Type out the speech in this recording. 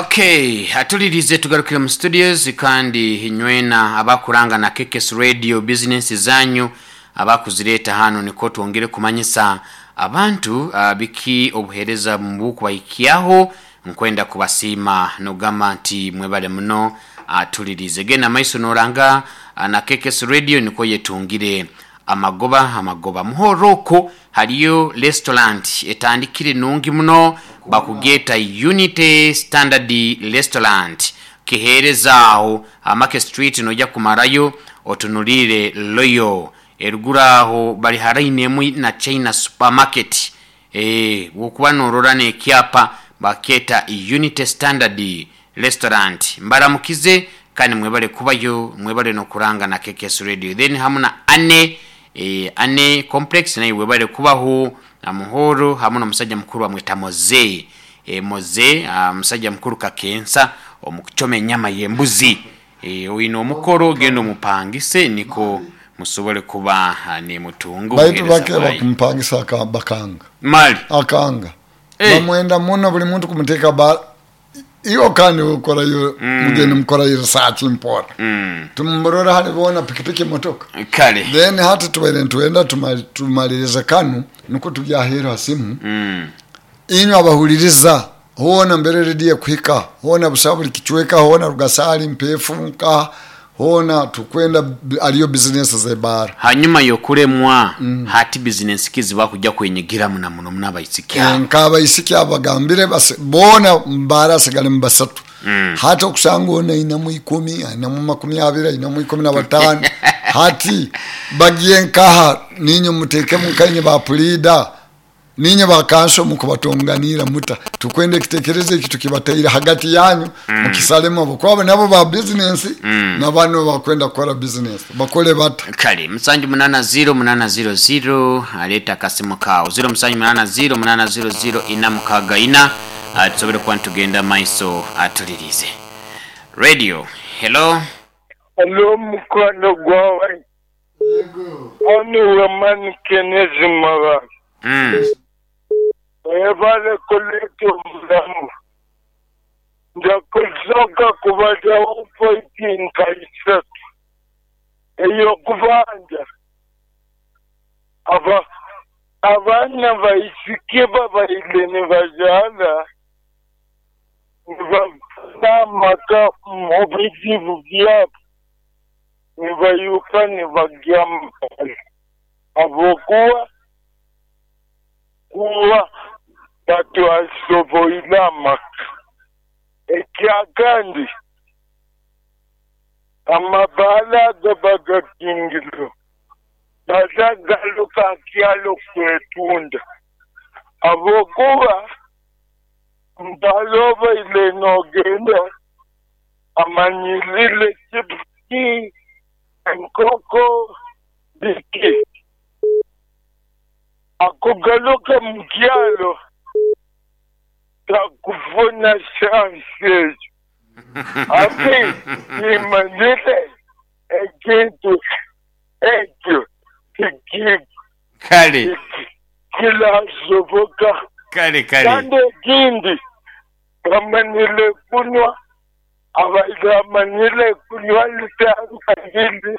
Okay, atulirize tugarukire mu studios kandi nywena abakuranga na KKS Radio business zanyu abakuzireeta hano niko twongere kumanyisa abantu biki obuheereza mubukubahikyaho. Nkwenda kubasiima nogamba nti mwebale muno. Atulirize genda maiso noranga na KKS Radio niko yetungire amagoba amagoba muhoro okwo. Hariyo restaurant etandikire nungi muno, bakugeeta Unity Standard Restaurant, kiheereza aho Market Street. Noija kumarayo otunuliire Royal eruguru aho, bari haraine emwe na China Supermarket. Bwokuba norora n'ekyapa bakyeta Unity Standard Restaurant. Mbaramukize kandi mwebale kubayo, mwebale n'okuranga na KKS Radio. Then hamu na Ane Ane Complex nayo webale kubaho na Muhoro hamu n'omusajja mukuru bamweta Moze. Moze musajja mukuru kakensa omu kucoma enyama y'embuzi. Oine omukoro genda omupangise niko musobole kuba nimutunga Baitu obuheereza bake bwayo. Bakumupangisa bakanga. Mali. Akanga. Bamwenda muno, buli muntu kumuteeka ba iyo kandi ukorayo mugende mukorayo research mpora. Tumurora hali bona pikipiki, motoka. Kale. Then hati tubaire nitwenda tumalirize kanu niko tubyahera simu. Inywe abahuliriza hoona mbere rediyo kuhika hoona busa buli kicweka hoona Rugasali, Mpefu, nka hoona tukwenda aliyo bizinesi zebara. Hanyuma y'okuremwa hati bizinesi ki zibakujja kwenyigiramu na muno muno abaisiki abo? Nk'abaisiki abagambire boona mbara asigale mu basatu. Hati okusanga ono ainamu 10, ainamu 20, ainamu 15. Hati bagiye nkaha? Ninye mutekemu nkainye ba pulida, ninye bakanso, mukubatonganira muta tukwenda ekitekerezo eki tukibataire hagati yanyu mukisalemu abakwabo nabo ba bizinesi na bano bakwenda kukora bizinesi bakole bata? Kale, 780 800, aleeta akasimu kaawo 0780 800 464, tusobole kuba nitugenda maiso. Atulirize radio, hello. Hello, mukwano gwawe. Onu Wamani Kenezi Mara. Webale kuleta omulamu. Nja kusoka kubazaho pointi nka isatu. Ey'okubanza, aba abaana baisiki babaire nibazaara nibafuna amaka mu bizibu byabo, nibayuka nibagya mukali habwokuba kuba batwasoboire amaka. Ekyakandi, amabaala agaba gakingirwe bazagaluka kyalo kwetunda habwokuba mbalobaile nogenda amanyirire chipusi, enkoko, biki, akugaluka mukyalo takufuna chance ezo. Ate kimanyire ekintu ekyo Kale. kilasoboka. Kale kale. Kandi ekindi, bamanyire kunywa, abaire amanyire kunywa litanga.